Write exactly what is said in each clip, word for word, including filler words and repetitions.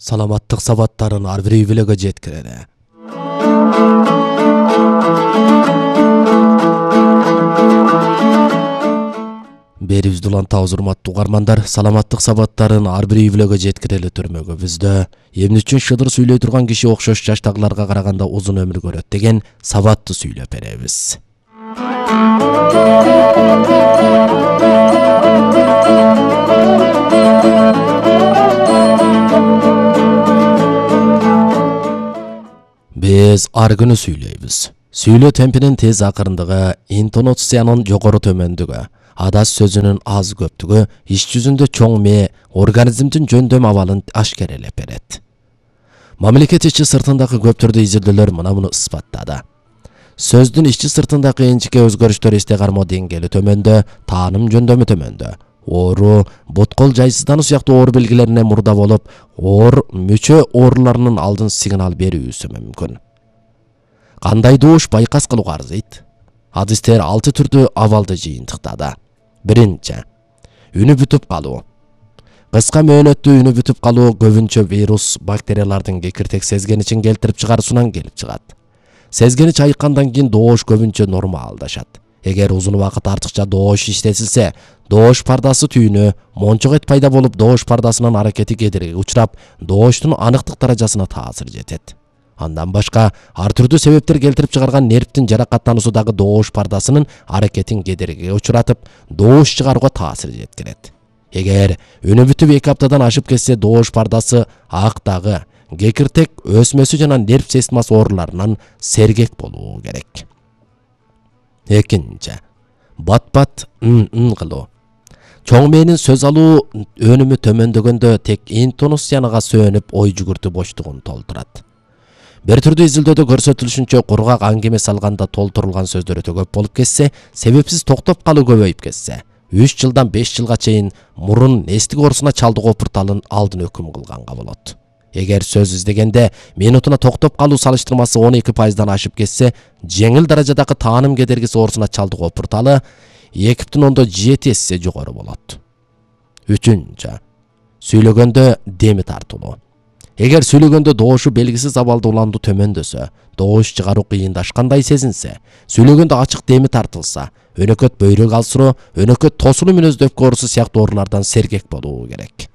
саламаттык сабаттарын ар бир үй-бүлөгө жеткирели. Берибизди улантабыз урматтуу угармандар, саламаттык сабаттарын ар бир үй-бүлөгө жеткирели түрмөгүбүздө эмне үчүн шыдыр сүйлөй турган киши окшош жаштагыларга караганда узун өмүр көрөт деген сабатты сүйлөп беребиз. Биз ар күнү сүйлөйбүз. Сүйлөө темпинин тез акырындыгы, интонациянын жогору төмөндүгү, адас сөзүнүн аз көптүгү иш жүзүндө чоң мээ организмдин жөндөм абалын ашкерелеп берет. Мамлекет ичи сыртындагы көп түрдүү изилдөөлөр мына муну ысбаттады. Сөздүн ичи сыртындагы энчике өзгөрүштөр эсте кармоо деңгээли төмөндө, тааным жөндөмү төмөндө. Оору, боткол жайсыздануу сыяктуу оор белгилерине мурда болуп, оор мүчө ооруларынын алдын сигнал берүүсү мүмкүн. Кандай добуш байкас кылууга арзыйт? Адистер алты түрдүү абалды жыйынтыктады. Биринчи, үнү бүтүп калуу. Кыска мөөнөттүү үнү бүтүп калуу көбүнчө вирус, бактериялардын кекиртек сезгеничин келтирип чыгаруусунан келип чыгат. Сезгенич айыккандан кийин доош көбүнчө нормалдашат. Эгер узун убакыт артыкча доош иштетилсе, доош пардасы түйүнү, мончок пайда болуп, доош пардасынын аракети кедергиге учурап, дооштун аныктык даражасына таасир жетет. Андан башка, ар түрдүү себептер келтирип чыгарган нервтин жаракаттануусу дагы доош пардасынын аракетин кедергиге учуратып, доош чыгарууга таасир жеткирет. Эгер үнү бүтүп эки аптадан ашып кетсе, доош пардасы актагы, кекиртек өсмөсү жана нерв системасы ооруларынан сергек болуу керек. Экинчи, бат-бат ын-ын кылуу. Чоң мээнин сөз алуу өнүмү төмөндөгөндө тек интонацияга сөөнүп, ой жүгүртүү боштугун толтурат. Бир түрдүү изилдөөдө көрсөтүлүшүнчө, кургак аңгеме салганда толтурулган сөздөр өтө көп болуп кетсе, себепсиз токтоп калуу көбөйүп кетсе, үч жылдан беш жылга чейин мурун эстик оорусуна чалдыгуу опурталын алдын өкүм кылганга болот. Эгер сөз издегенде минутуна токтоп калуу салыштырмасы он эки пайыздан ашып кетсе, жеңил даражадагы тааным кедергиси оорусуна чалдыгуу опурталы эки бүтүн ондон жети эсе жогору болот. Үчүнчү, сүйлөгөндө деми тартылуу. Эгер сүйлөгөндө доошу белгисиз абалда уландуу төмөндөсө, доош чыгаруу кыйындашкандай сезинсе, сүйлөгөндө ачык деми тартылса, өнөкөт бөйрөк алсыроо, өнөкөт тосулуу мүнөздүү өпкө оорусу сыяктуу оорулардан сергек болуу керек.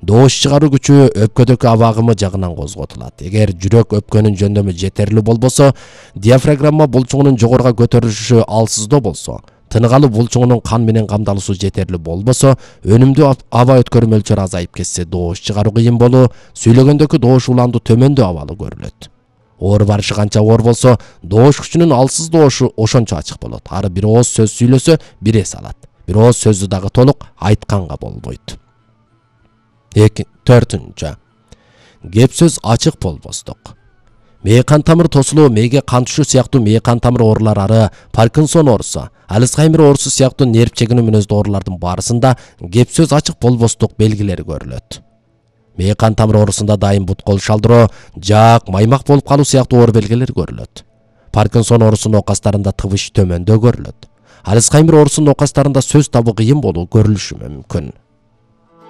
Доош чыгаруу күчү өпкөдөгү аба агымы жагынан козготулат. Эгер жүрөк өпкөнүн жөндөмү жетерлүү болбосо, диафрагма булчугунун жогоруга көтөрүлүшү алсыздоо болсо, тынык алуу булчугунун кан менен камдалуусу жетерлүү болбосо, өнүмдүү аба өткөрүү мөлчөрү азайып кетсе, доош чыгаруу кыйын болуу, сүйлөгөндөгү доош уландуу төмөндөө абалы көрүлөт. Оор барышы канча оор болсо, доош күчүнүн алсыз доошу ошончо ачык болот. Ары бир ооз сөз сүйлөсө, бир эс алат. Бир ооз сөздү дагы толук айтканга болбойт. Төртүнчү, кеп сөз ачык болбостук. Мээ кан тамыр тосулуу, мээге кан түшүү сыяктуу мээ кан тамыр оорулары ары Паркинсон оорусу, Альцгеймер оорусу сыяктуу нерв чегинүү мүнөздүү оорулардын баарысында кеп сөз ачык болбостук белгилери көрүлөт. Мээ кан тамыр оорусунда дайым буткол шалдыроо, жаак, маймак болуп калуу сыяктуу оор белгилер көрүлөт. Паркинсон оорусунун оокастарында тыбыш төмөндө көрүлөт. Альцгеймер оорусунун оокастарында сөз табуу кыйын болуу көрүлүшү мүмкүн.